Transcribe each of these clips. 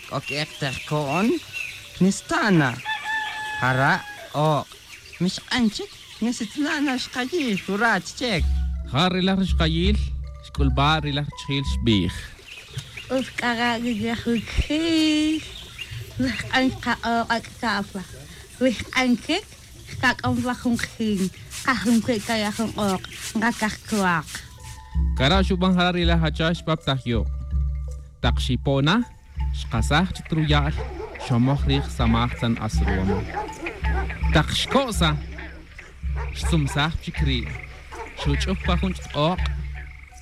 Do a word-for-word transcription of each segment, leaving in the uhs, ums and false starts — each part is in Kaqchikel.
K'ok terkoon knistana. Jara oq. Mixq'anchik nisitlana xqayil jurach chek. Ja rilaj xqayil xk'ulb'a rilaj chjil xb'ij. Ufk'ara rilaj Wijq'an qaq'oq ak'kafa. Wijq'ankik kak'on jun qjin. Qajun kaya jun oq. Nqakajkuaq. Kara xub'an jara rilaj hacha xpap tajyo. Taq xipona xqasaj chitruyal xomoj rij samaj san asruam. Taq xkosa xsumsaj chikri. Xuch'up pa jun ch'oq.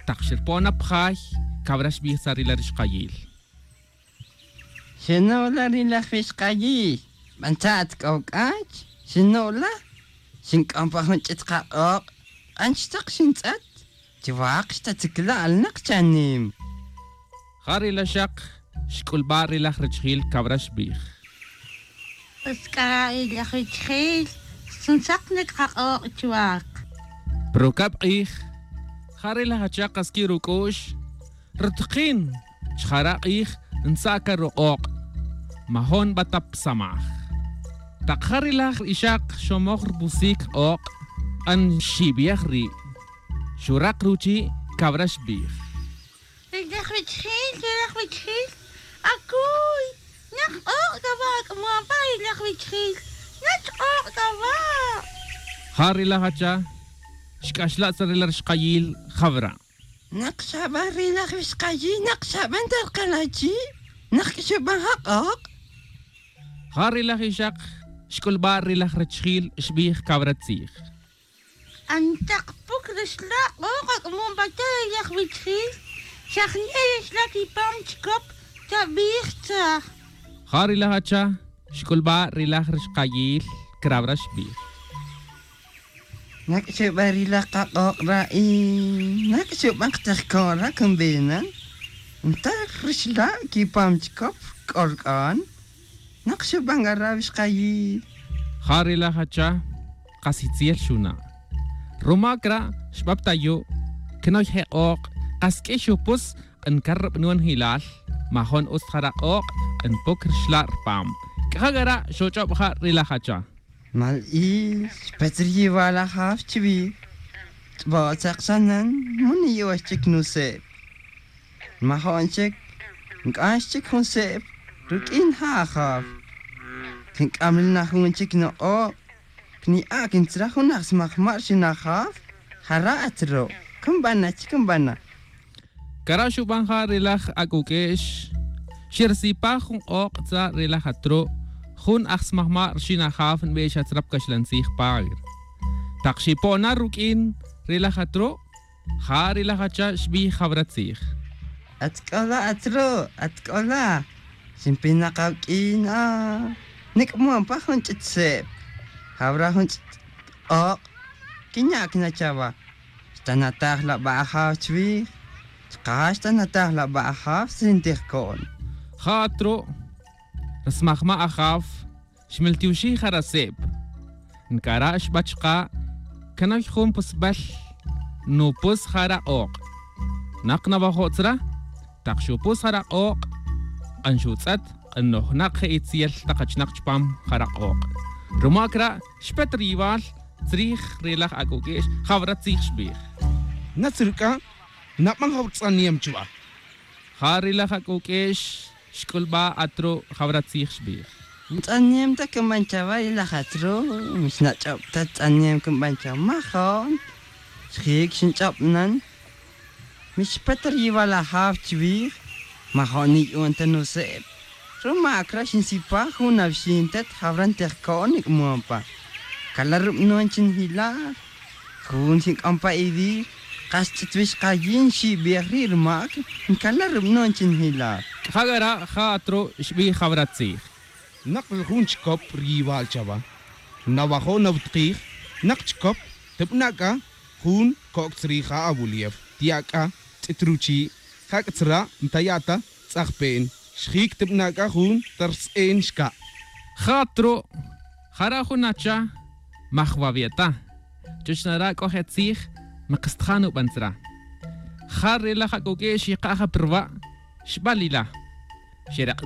Taq xirpona pjay kabra xb'ij sa rilaj xqayil. Xinola rilaj xqayil. B'antat k'ok'ach. Xinola. Xink'on pa jun ch'it qaq'oq. Q'anchtaq xintz'at. Chiwaq xtatzikla alnaq chanim. Ja rilaj xaq xk'ulb'a rilaj richjil kabra xb'ij. Usk'ara rilaj richjil sunsaqnik qaq'oq chuwaq. Prokab' q'ij ja rilaj hacha qaski ruk'u'x rtqin chjara q'ij nsaka ruq'oq majon b'atap samaj. Taq ja rilaj ixaq xomoj rb'usik q'oq q'an xib'yaj ri' xuraq ruchi kabra xb'ij. Rilaj richjil rilaj richjil akuy naq q'oq kawak muampa rilaj richjil nach q'oq kawak. Ja rilaj hacha xk'axla' sa rilaj xqayil jabra. Naq xab'an rilaj xqayil naq xab'an tarqalachi naq xub'an jaq'oq. Ja rilaj ixaq xk'ulb'a rilaj richjil xb'ij kabra tzij. Antaq puk rixla q'oq ak'mumpata rilaj richjil xajne rixla kipam chikop tab'ij tzaj. Ja rilaj hacha xk'ulb'a rilaj rixqayil krabra xb'ij. Naq xub'an rilaj qaq'oq ra'i. Naq xub'an qtejkoon ra kumbinan. Ntar rixla kipam chikop k'ork'on. Naq xub'an garab xqayil. Ja rilaj hacha qasitziel xuna. Rumakra xb'ab tayo knoy jeq'oq qask'e xupus q'enkarb nuan hilal majon us jaraq'oq q'enpuk rixla rpam. K'ajagara xoch'ob ja rilaj hacha. Mal il xpetriyiwal ajaw chwij. T'b'otzaqsanan muni yuwax chik nuseb. Majon chik nk'ax chik jun seb ruk'in ja ajaw. Kink'amlna jun chik noq'oq. Kni'a kintzra jun ajsmajmar xinajaw. Jara atro. Kumbana chikumbana. Kara xub'an ja rilaj ak'uk'ex xirsipa jun q'oq tza rilaj atro jun ajsmajmar xinajaw nb'ex atzrap kaxlantzij pagr. Taq xipona ruk'in rilaj atro ja rilaj hacha xb'ij jabra tzij. Atk'ola atro atk'ola. Xinpinaqawk'in ah. Nik'muanpa jun ch'it seb. Jabra jun ch'it q'oq. Kiñak nachawa. Xtanataj la b'ajaw chwij. Chqaj xtanataj la b'ajaw sintijkoon. Ja atro rasmajma ajaw xmiltiwxi jaraseb. Nkara xb'achqa kanay jun pusb'al nupus jara q'oq. Naq nawajo'tzra taq xupus jara q'oq q'an xutz'at q'an nojnaq je'itziel taqachnaq chpam jara q'oq. Rumakra xpet riwal tzrij rilaj ak'uk'ex jabra tzij xb'ij. Natzirk'a nap'an jawtz'aniem chwa. Ja rilaj ak'uk'ex xk'ulb'a atro jabra tzij xb'ij. Ntz'aniem ta kumbanchawa rilaj atro. Mixnach'ob ta tz'aniem kumbanchaw majon. Xjik xinch'ob'nan. Mixpet riwal ajaw chwij. Majon niy'un ta nuseb. Rumakra xinsipaj jun awxintet jabran tejkoon nik'muampa. Kala rub'nuan chinjilar. Jun xink'ompa idir. Qas ch'itwix qayin xib'ij ri' rmak nkala rub'nuan chinjilar. Jagara ja atro xb'ij jabra tzij. Naq jun chikop riwal chawa. Nawajo nawtqij naq chikop tib'nak'a jun ko'k tzrija awulief. Tiak'a tz'itruchi jak'tzra ntayata tz'ajpe'n. Xjik tib'nak'a jun tars'en xka'. Ja atro jara jun hacha majwavieta. Chochnara k'oje tzij maqstjanu b'antzra. Ja rilaj ak'uk'ex yiqaja prwa xb'alila. Xeraq